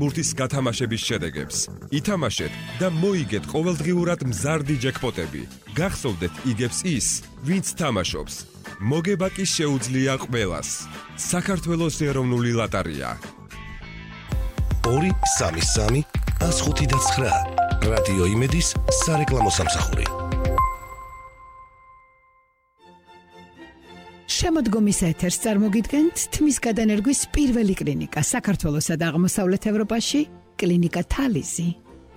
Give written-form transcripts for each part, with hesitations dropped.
ბურთის გათამაშების შედეგებს. ითამაშეთ და მოიგეთ ყოველდღიურად მზარდი ჯეკპოტები. გახსოვდეთ იგებს ის, ვინც თამაშობს. მოგება კი შეუძლია ყველას. საქართველოს ეროვნული ლოტარია. 233 159 რადიო იმედის სარეკლამო სამსახური. შემოდგომის ეთერს წარმოგიდგენთ თმის გადანერგვის პირველი კლინიკა საქართველოსა და აღმოსავლეთ ევროპაში, კლინიკა თალიზი.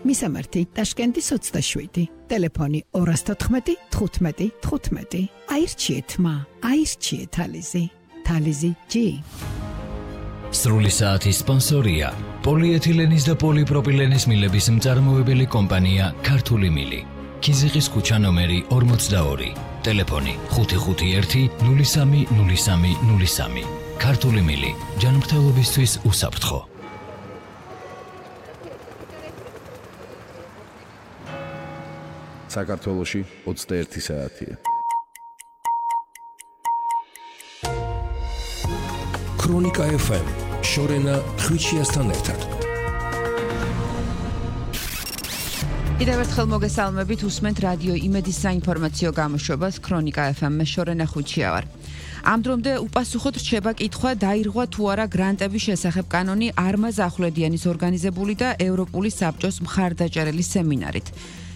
მისამართი ტაშკენტის 27, ტელეფონი 214 15 15. აირჩიეთ თალიზი. თალიზი G. სრული საათის სპონსორია პოლიეთილენის და პოლიპროპილენის მილების მწარმოებელი კომპანია ქართული მილი. ქიზიყის ქუჩა ნომერი 42, ტელეფონი 551 03 03 03. ქართული მილი, ჯანმრთელობისთვის უსაფრთხო. საქართველოში 21 საათია. ქრონიკა FM შორენა ხვიჩიასთან ერთად. კიდევ ერთხელ მოგესალმებით, უსმენთ რადიო იმედის საინფორმაციო გამოშვებას ქრონიკა FM-ში შორენა ხვიჩია ვარ. ამ დრომდე უპასუხოდ რჩება კითხვა, დაირღვა თუ არა გრანტების შესახებ კანონი არმაზ ახვლედიანის ორგანიზებული და ევროპული საბჭოს მხარდაჭერილი სემინარით.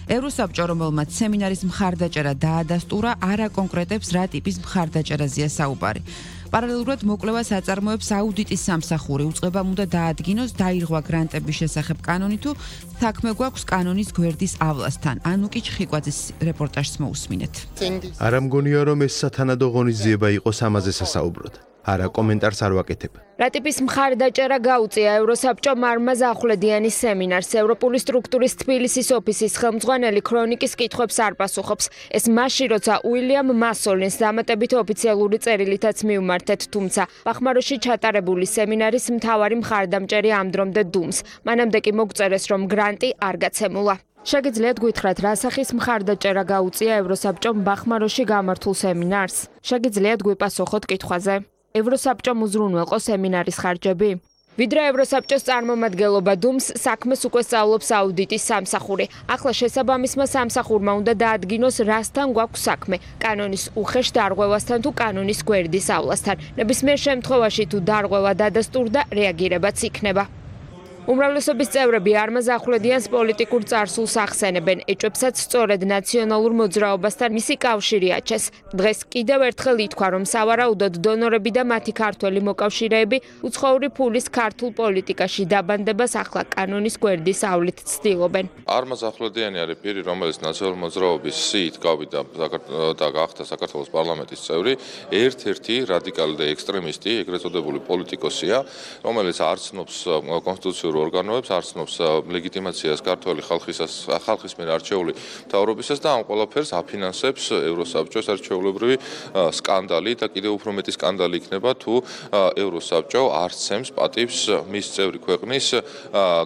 ევროსაბჭო, რომელმაც სემინარის მხარდაჭერა დაადასტურა, არ აკონკრეტებს რა ტიპის მხარდაჭერაზეა საუბარი. პარალელურად მოკვლევას აწარმოებს აუდიტის სამსახური, უწყებამ უნდა დაადგინოს დაირღვა გრანტების შესახებ კანონი თუ საქმე გვაქვს კანონის გვერდის ავლასთან. ანუკი ჩხიკვაძის რეპორტაჟს მოусმინეთ. არ ამგონია რომ ეს სათანადო ღონისძიება იყოს ამაზე სასაუბროდ. არა, კომენტარს არ ვაკეთებ. რა ტიპის მხარდაჭერა გაუწია ევროსაბჭომ არმაზ ახვლედიანის სემინარს? ევროპული სტრუქტურის თბილისის ოფისის ხელმძღვანელი ქრონიკის კითხვებს არ პასუხობს. ეს მაშინ, როცა უილიამ მასოლინს დამატებით ოფიციალური წერილითაც მიუმართეთ, თუმცა ბახმაროში ჩატარებული სემინარის მთავარი მხარდამჭერი ამ დრომდე დუმს. მანამდე კი მოგწერეს, რომ გრანტი არ გაცემულა. შეგიძლიათ გითხრათ, რა სახის მხარდაჭერა გაუწია ევროსაბჭომ ბახმაროში გამართულ სემინარს? შეგიძლიათ გვიპასუხოთ კითხვაზე. ევროსაბჭომ უზრუნველყო სემინარის ხარჯები? ვიდრე ევროსაბჭოს წარმომადგენლობა დუმს, საქმეს უკვე სწავლობს აუდიტის სამსახური. ახლა შესაბამისმა სამსახურმა უნდა დაადგინოს, რასთან გვაქვს საქმე, კანონის უხეშ დარღვევასთან თუ კანონის გვერდის ავლასთან. ნებისმიერ შემთხვევაში თუ დარღვევა დადასტურდა, რეაგირებაც იქნება. უმრავლესობის წევრები არმაზ ახვლედიანს პოლიტიკურ წარსულს ახსენებენ, ეჭვებსაც სწორედ ნაციონალურ მოძრაობასთან მისი კავშირი აჩეს. დღეს კიდევ ერთხელ ითქვა, რომ სავარაუდოდ დონორები და მათი ქართველი მოკავშირეები უცხოური ფულის ქართულ პოლიტიკაში დაბანდებას ახლა კანონის გვერდის ავლით ცდილობენ. არმაზ ახვლედიანი არის პირი, რომელიც ნაციონალური მოძრაობის სიით გავიდა და გახდა საქართველოს პარლამენტის წევრი, ერთ-ერთი რადიკალი და ექსტრემისტი, ეგრეთ წოდებული პოლიტიკოსია, რომელიც არ ცნობს კონსტიტუციურ ორგანოებს, არ ცნობს ლეგიტიმაციას ქართული ხალხის მიერ არჩეული მთავრობისას და ამ ყველაფერს აფინანსებს ევროსაბჭოს არჩეულებრივი სკანდალი და კიდევ უფრო მეტი სკანდალი იქნება თუ ევროსაბჭო არ ცემს პატივს მის წევრი ქვეყნის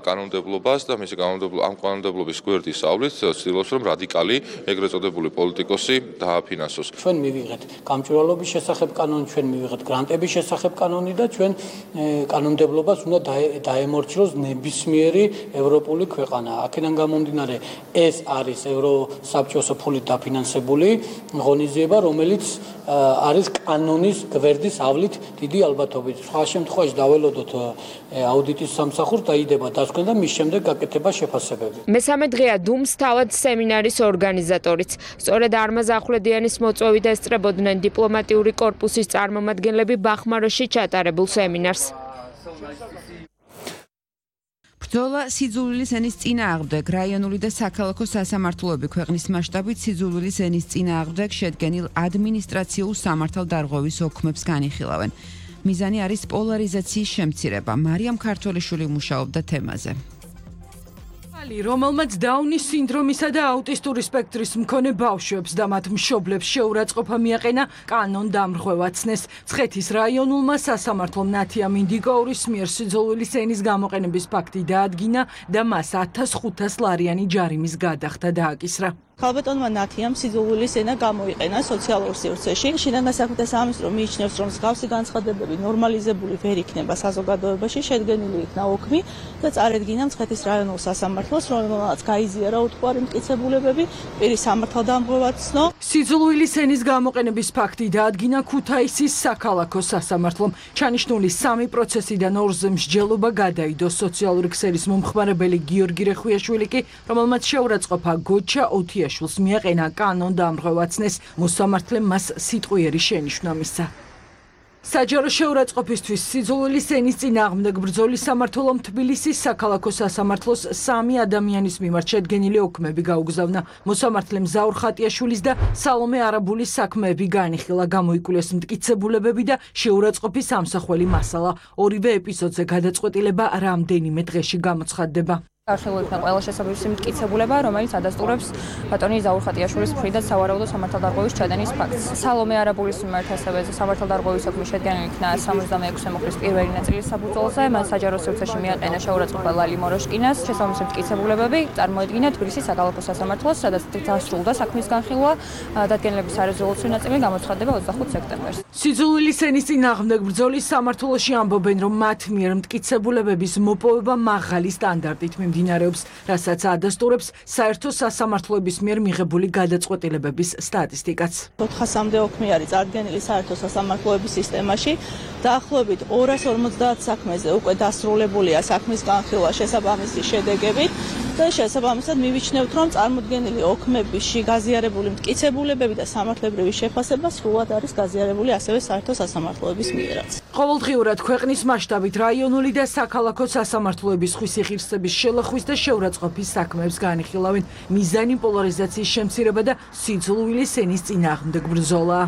კანონმდებლობას და მისი ამ კანონმდებლობის გვერდის ავლით ცდილობს რომ რადიკალი ეგრეთ წოდებული პოლიტიკოსი დააფინანსოს. ჩვენ მივიღეთ გამჭვირვალობის შესახებ კანონი, ჩვენ მივიღეთ გრანტების შესახებ კანონი და ჩვენ კანონმდებლობას უნდა დაემორჩილოს ნებისმიერი ევროპული ქვეყანა. აქედან გამომდინარე, ეს არის ევროსაბჭოს ფულით დაფინანსებული ღონისძიება, რომელიც არის კანონის გვერდის ავლით დიდი ალბათობით. სხვა შემთხვევაში დაველოდოთ აუდიტის სამსახურს დაიდება დასკვნა და მის შემდეგ გაკეთება შეფასებები. მესამე დღეა დუმს თავად სემინარის ორგანიზატორიც. სწორედ არმაზ ახვლედიანის მოწვევით ესწრებოდნენ დიპლომატიური კორპუსის წარმომადგენლები ბახმაროში ჩატარებულ სემინარს. ბრძოლა სიძულვილის ენის წინააღმდეგ. რაიონული და საქალაქო სასამართლოები ქვეყნის მასშტაბით სიძულვილის ენის წინააღმდეგ შედგენილ ადმინისტრაციულ სამართალდარღვევის ოქმებს განიხილავენ. მიზანი არის პოლარიზაციის შემცირება. მარიამ ქართველიშვილი მუშაობდა თემაზე. რომელმაც დაუნის სინდრომისა და აუტისტური სპექტრის მქონე ბავშვებს და მათ მშობლებს შეურაცხყოფა მიაყენა კანონ დამრღვევა ცნეს. მცხეთის რაიონულმა სასამართლომ ნათია მინდიკაურის მიერ სიძულვილის ენის გამოყენების ფაქტი დაადგინა და მას 1500 ლარიანი ჯარიმის გადახდა დააკისრა. ქალბატონმა ნათიამ სიძულვილის ენა გამოიყენა სოციალურ სივრცეში. შინაგან საქმეთა სამინისტრო მიიჩნევს, რომ მსგავსი განცხადებები ნორმალიზებული ვერ იქნება საზოგადოებაში, შედგენილი იქნა ოქმი და წარედგინა მცხეთის რაიონულ სასამართლოს, რომელმაც გაიზიარა უთქვარი მტკიცებულებები, პირის სამართალდამღვრევად ცნო. სიძულვილის ენის გამოყენების ფაქტი დაადგინა ქუთაისის საქალაქო სასამართლომ. ჩანიშნული 3 პროცესიდან 2-ზე მსჯელობა გადაიდო სოციალური ქსელის მომხმარებელი გიორგი რეხვიაშვილი კი, რომელმაც შეურაცხყოფა გოჩა ოთიაშვილს მიაყენა კანონდამღვრევაცნეს, მოსამართლემ მას სიტყვიერი შენიშვნა მისცა. საჯარო შეურაცხყოფისთვის სიძულვილის ენის წინააღმდეგ ბრძოლის სამმართველომ თბილისის საქალაქო სასამართლოს 3 ადამიანის მიმართ შედგენილი ოქმები გაუგზავნა. მოსამართლემ ზაურ ხატიაშვილის და სალომე არაბულის საქმეები განიხილა, გამოიკვლეს მტკიცებულებები და შეურაცხყოფის ამსახველი მასალა. ორივე ეპიზოდზე გადაწყვეტილება რამდენიმე დღეში გამოცხადდება. არხილული იქნა ყველა შესაბამისი მტკიცებულება, რომელიც ადასტურებს ბატონი ზაურ ხატიაშვილის მხრიდან სავარაუდო სამართალდარღვევის ჩადენის ფაქტს. სალომე არაბულის მიმართ ასევე სამართალდარღვევის ოქმი შედგენილი იქნა 76-ე მოხდის პირველი ნაწილის საბრძოლზე, მას საჯარო სივრცეში მიაყენა შეურაცხყოფა ლალი მოროშკინას. შესაბამისი მტკიცებულებები წარმოედგინა თბილისის საქალაქო სასამართლოს, სადაც დასრულდა საქმის განხილვა, დადგენილების სარეზოლუციო ნაწილი გამოცხადდება 25 სექტემბერს. სიძულვილის ენის წინააღმდეგ ბრძოლის სამმართველოში ამბობენ, რომ მათ მიერ მტკიცებულებების მოპოვება მაღალი სტანდარტით მიმდინარეობს, რასაც ადასტურებს საერთო სასამართლოების მიერ მიღებული გადაწყვეტილებების სტატისტიკაც. 400-მდე ოქმი არის წარდგენილი საერთო სასამართლოების სისტემაში. დაახლოებით 250 საქმეზე უკვე დასრულებულია საქმის განხილვა შესაბამისი შედეგებით და შესაბამისად მივიჩნევთ, რომ წარმოდგენილი ოქმებში გაზიარებული მტკიცებულებები და სამართლებრივი შეფასება სრულად არის გაზიარებული ასევე საერთო სასამართლოების მიერაც. ყოველდღიურად ქვეყნის მასშტაბით რაიონული და საქალაქო სასამართლოების ხვისიღირსების შელახვის და შეურაცხყოფის საქმეებს განიხილავენ. მიზანი პოლარიზაციის შემცირება და სიძულვილის ენის წინააღმდეგ ბრძოლა.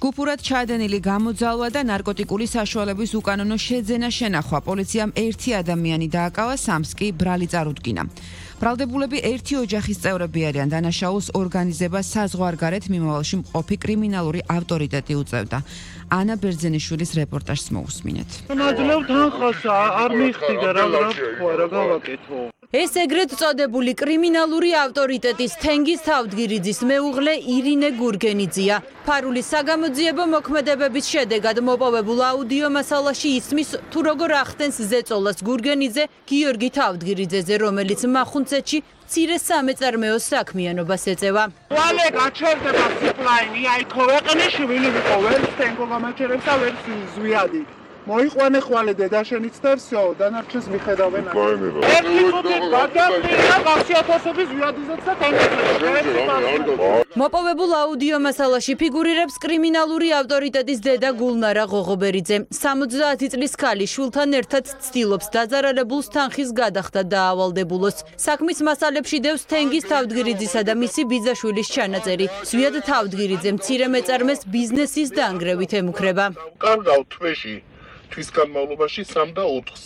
ჯგუფურად ჩადენილი გამოძალვა და ნარკოტიკული საშუალების უკანონო შეძენა შენახვა. პოლიციამ 1 ადამიანი დააკავა, 3-ს კი ბრალი წარუდგინა. ბრალდებულები 1 ოჯახის წევრები არიან. დანაშაულს ორგანიზებას საზღვარგარეთ მიმავალში მყოფი კრიმინალური ავტორიტეტი უწევდა. ანა ბერძენიშვილის რეპორტაჟს მოусმინეთ. ნაძლევ თანხასა არ მიხდიდა რა გავაკეთო. ეს ეგრეთ წოდებული კრიმინალური ავტორიტეტის თენგიზ თავდგირიძის მეუღლე ირინე გურგენიძეა. ფარულის საგამოძიებო მოქმედებების შედეგად მოპოვებულ აუდიო მასალაში ისმის თუ როგორ ახდენს ზეწოლას გურგენიძე გიორგი თავდგირიძეზე, რომელიც მახუნცეთში მცირე სამეწარმეო საქმიანობას ეწევა. ვალე გაჩერდება სიპლაინი, აი ქოვეყნე შვილი ვიყო, ვერ სტენგო გამაჩერებს და ვერ ზვიადი. მოიყვანე ხვალე დედაშენიც და всё, დანარჩენს მიხედავენ. ერთი ხუთი გადაგმირდა გასიათოსების ვიადიზეც და თენგიზეც. მოპოვებულ აუდიო მასალაში ფიგურირებს კრიმინალური ავტორიტეტის დედა გულნარა ღოღობერიძე. 70 წლის ქალი შვილთან ერთად ცდილობს დაზარალებულს თანხის გადახდა დაავალდებულოს. საქმის მასალებში დევს თენგიზ თავდგირიძისა და მისი ბიძაშვილის ჩანაწერი. ზვიად თავდგირიძე მცირე მეწარმეს ბიზნესის დაანგრევით ემუქრება. კარგავ თვეში თვის განმავლობაში 3 და 4-ს.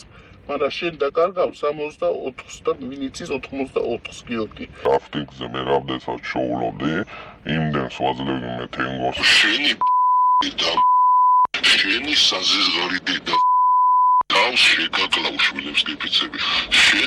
მაგრამ შენ დაკარგავ 64-ს და მინიცის 84-ს გიორგი. აფტინგზე მე რამდენსაც შოულობდი, იმდენს ვაძლევდი მე თენგოს. შენი და შენი საზღარი დედა. თავს შეგაკლავ შვილებს გიფიცები. შენ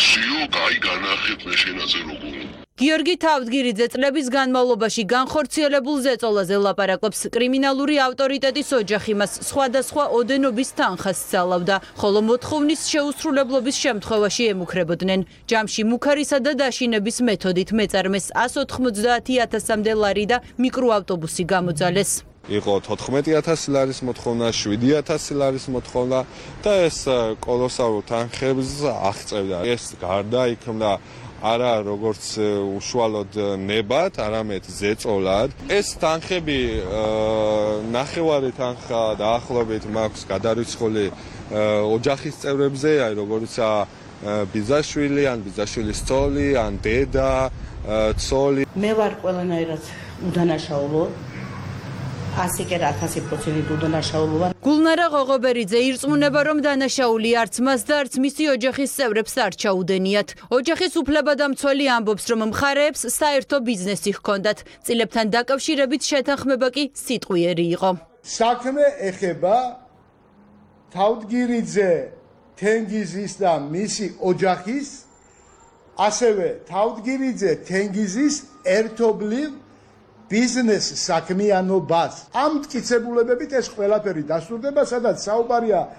სიო გაი განახეთ მე შენაზე როგორ გიორგი თავდგირიძე წლების განმავლობაში განხორციელებულ ზეწოლაზე ლაპარაკობს. კრიმინალური ავტორიტეტის ოჯახი მას სხვადასხვა ოდენობის თანხას სწავლავდა, ხოლო მოთხოვნის შეუსრულებლობის შემთხვევაში ემუქრებოდნენ. ჯამში მუქარისა და დაშინების მეთოდით მეწარმეს 190,000-მდე ლარი და მიკროავტობუსი გამოძალეს. იყო 14,000 ლარის მოთხოვნა, 7,000 ლარის მოთხოვნა და ეს კოლოსალურ თანხებს აღწევდა. ეს გარდაიქმნა არა როგორც უშუალოდ ნებად, არამედ ზეწოლად. ეს თანხები ნახევარი თანხა დაახლოებით მაქვს გადარიცხული ოჯახის წევრებზე, აი როგორიცაა ბიძაშვილი, ან ბიძაშვილის ცოლი, ან დედა, ცოლი. მე ვარ ყველანაირად უდანაშაულო. 100% უდანაშაულო ვარ. გულნარა ღოღობერიძე ირწმუნება, რომ დანაშაული არც მას და არც მისი ოჯახის წევრებს არ ჩაუდენიათ. ოჯახის უფლებადამცველი ამბობს, რომ მხარეებს საერთო ბიზნესი ჰქონდათ. წილებთან დაკავშირებით შეთანხმება კი სიტყვიერი იყო. საქმე ეხება თავდგირიძე, თენგიზის და მისი ოჯახის ასევე თავდგირიძე თენგიზის ერთობლივ ბიზნეს საქმიანობას. ამ მტკიცებულებებით ეს ყველაფერი დასტურდება, სადაც საუბარია